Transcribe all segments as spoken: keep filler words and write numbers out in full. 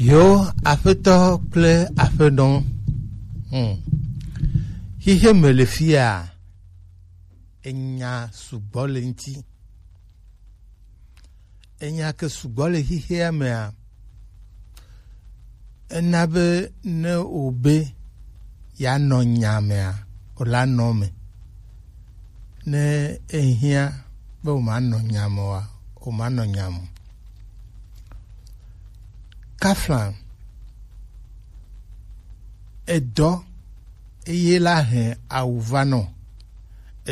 Yo, aƒetɔ kple aƒenɔ. Hmm. Xixe me le fia, enya sugbɔ le ŋuti. Enya ke sugbɔ le xixea mea, ena be ne wòbe yeanɔ nya mea, wòla nɔ me. Ne ehiã be wòmanɔ nya me oa, wòmanɔ nya me o. Kaflan, edɔ eye la hɛn awu va nɔ,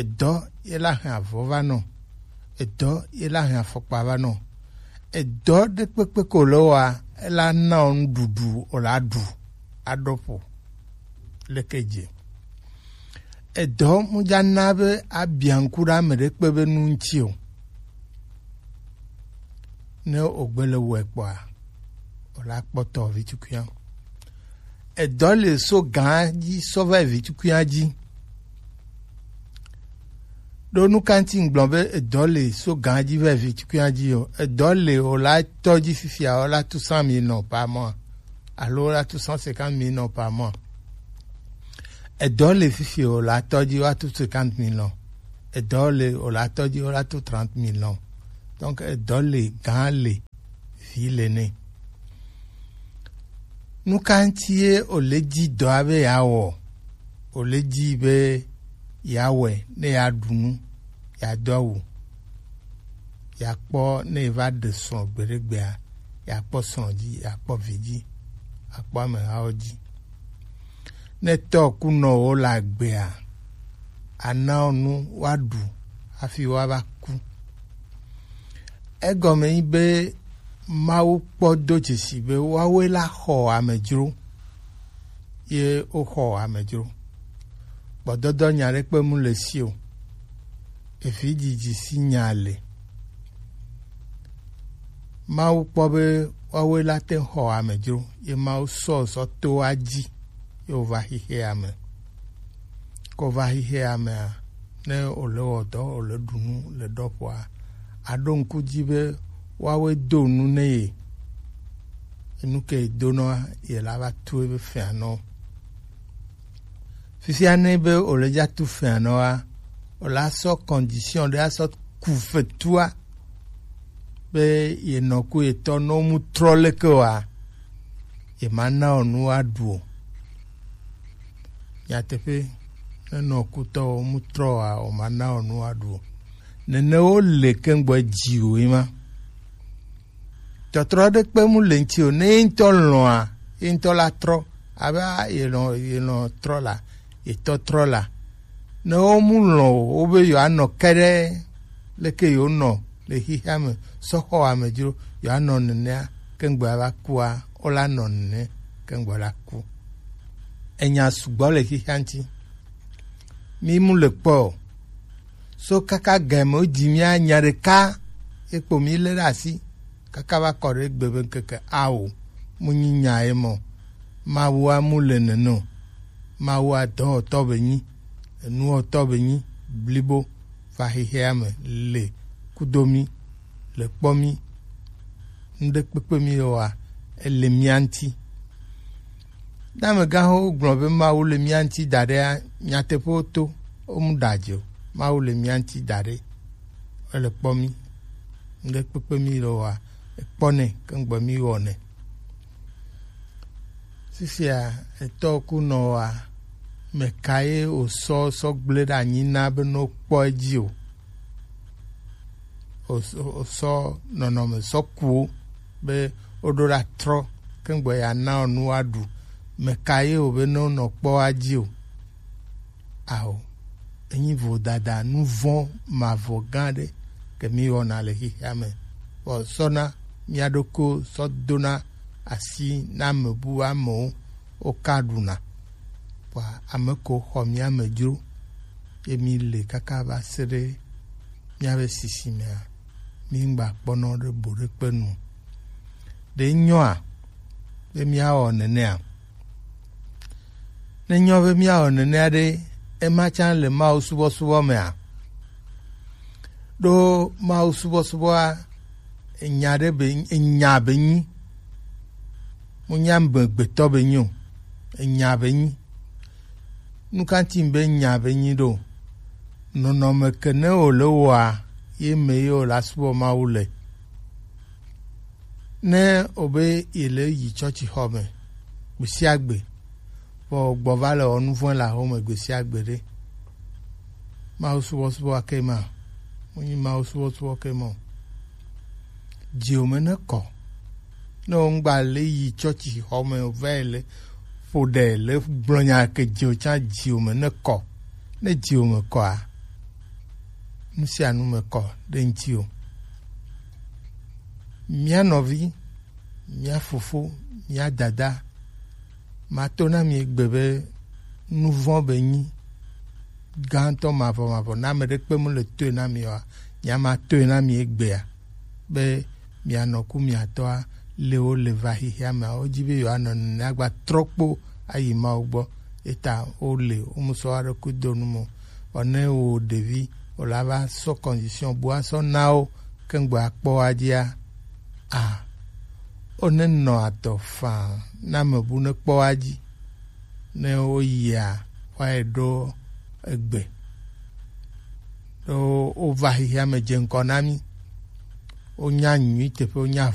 edɔ ye la hɛn avɔ va nɔ, edɔ ye la hɛn afɔkpa va nɔ, edɔ ɖekpekpe ko le wa ela na o nuɖuɖu o la ɖu aɖo ƒo leke dze. Edɔ mu dza na be abia ŋku ɖe ame ɖekpe be nu ŋuti o. Ne wògbe le wɔe kpɔa, wòla kpɔtɔ vi tukuia. Edɔ le so gã dzi sɔ va yi vi tukuia dzi. Ɖo nu ka ŋuti ŋgblɔ be edɔ le so gã dzi va yi vi tukuia dzi o? Edɔ le wòla tɔ dzi fifia wòla tu cent mille nɔ par mois alo wòla tu cent cinquante mille nɔ par mois. Edɔ le fifi o la tɔ dzi woatu cinquante millions. Edɔ le o la tɔ dzi woatu trente millions. Donc edɔ le gã le vi le nɛ. Nu ka ŋuti ye o le dzi dɔa be yeawɔ? O le dzi be yeawɔe ne yeaɖu nu, yeado awu, yeakpɔ ne yeva ɖe srɔ̃ gbeɖegbea, yeakpɔ srɔ̃ dzi, yeakpɔ vi dzi, yeakpɔ amehawo dzi. Ne tɔ ku nɔwo le agbea, ana wo nu woaɖu hafi woava ku. Egɔme nyi be Mawu kpɔ do dzesi be woawoe la xɔ amedzro, ye woxɔ amedzro. Gbɔdɔdɔ nya ɖekpe mu le si o. Evi dzidzi si nya le. Mawu kpɔ be woawoe la te xɔ amedzro, ye Mawu sɔ sɔ to wa dzi, ye wova xixea me. Ko va xixea mea, ne wòle wɔ dɔ, wòle ɖu nu le ɖɔƒoa, aɖo ŋku dzi be woawoe do nu ne ye. Enu ke ye donɔa, ye la va tu ebe fɛa nɔ. Fifia ne be wòle dza tu fɛa nɔa, wòla sɔ condition ɖe asɔ ku fetua be ye nɔ ku ye tɔ nɔ mu trɔ leke wa, ye ma na o nu wa ɖu o. Nyateƒe, ne nɔ kutɔ o mu trɔ wa, o ma na o nu wa ɖu o. Nene wo le kengbe dzi o yi ma. Tɔtrɔ ɖe kpe mu le ŋuti o. Ne ye ŋutɔ lɔ̃a, ye ŋutɔ la trɔ. Abe a, ye lɔ̃, ye lɔ̃ trɔ la, ye tɔ trɔ la. Ne wo mu lɔ̃ o, wo be yewoanɔ ke ɖe leke yewonɔ le xixea me sɔ xɔ amedzro, yewoanɔ nenea, kengbe va kua, wola nɔ nene, kengbe la ku. Enya sugbɔ le xixea ŋuti. Mi mu le kpɔ o. So kaka game wo dzi mía nya ɖeka, ekpo mi lé ɖe asi, kaka va kɔ ɖe egbe be ŋkeke ao, mu nyi nya ye mɔ. Mawua mu le nene o. Mawua dɔwɔtɔ be nyi, enuwɔtɔ be nyi, blibo, va xexea me le kudo mi, le kpɔ mi, ŋɖe kpekpe mi le wa, ele mía ŋuti. Ne amegãxowo gblɔ be Mawu le mía ŋuti da ɖea, nyateƒewo to, womu ɖa dzi o. Mawu le mía ŋuti da ɖe, ele kpɔ mí. Ŋɖe kpekpe mí le wɔa, ekpɔ nɛ, ke ŋgbe mí wɔ nɛ. Fifia, etɔ ku nɔ wa, meka ye wòsɔ sɔ gblẽ ɖe anyi na be ne wokpɔ edzi o? Wòsɔ nɔnɔme sɔ ku wo be woɖo ɖa trɔ, ke ŋgbe ya na wo nu woaɖu. Meka ye wòbe ne wonɔ kpɔ wa dzi o? Ao, enyi vodada, nu vɔ̃ mavɔ gã ɖe ke mí wɔna le xexea me. Vɔ sɔna mía ɖokui sɔ dona asi na ame bu amewo, woka ɖuna. Vɔa ame ko xɔ mía me dzro, ye mí le kaka va se ɖe míaƒe sisimea, mí ŋgba kpɔnɔ ɖe bo ɖe kpe nu. Ɖe nyɔa be míawɔ nenea? Ne nyɔ be míawɔ nenea ɖe, ema tsã le Mawu subɔsubɔ mea? Ɖo Mawu subɔsubɔa, enya ɖe be, enya be nyi. Wonya amegbetɔ be nyi o, enya be nyi. Nukanti be nya be nyi ɖo? Nɔnɔme ke ne wòle wɔa, ye me ye wòle asubɔ Mawu le. Ne wòbe yele yi tsɔtsixɔ me gbe sia gbe, vɔ gbɔ va le wɔ nu vɔ̃ le aho me gbe sia gbe ɖe, Mawu subɔsubɔ ake ma, wonyi Mawu subɔsubɔ ke ma o. Dziwò me ne kɔ. Ne wò ŋgba le yi tsɔtsi xɔ me o, va yi le ƒo ɖe le gblɔ nya ke dziwò tsã, dziwò me ne kɔ. Ne dziwò me kɔa, nu sia nu me kɔ ɖe ŋutiwò. Mía nɔvi, mía fofo, mía dada, mato na mi egbe be nu vɔ̃ be nyi gãtɔ mavɔmavɔ. Ne ame ɖekpe mu le toe na mi oa, nya ma toe na mi egbea, be mianɔ ku miatɔa, le wo le va xexea mea, wodzi be yewoanɔ nenea gba trɔ kpo ayi Mawu gbɔ. Eta wole, womusɔ aɖe ku do nu mo. Vɔ ne wo ɖevi, wòle ava sɔ condition bu asɔ na wo, ke ŋgbe akpɔ wa dzia, a, wone nɔ adɔ faa na me bu ne kpɔ wa dzi. Ne woyia, woayi ɖo egbe. Ɖo wova xexea me dze ŋkɔ na mí. Wonya nyui teƒe, wonya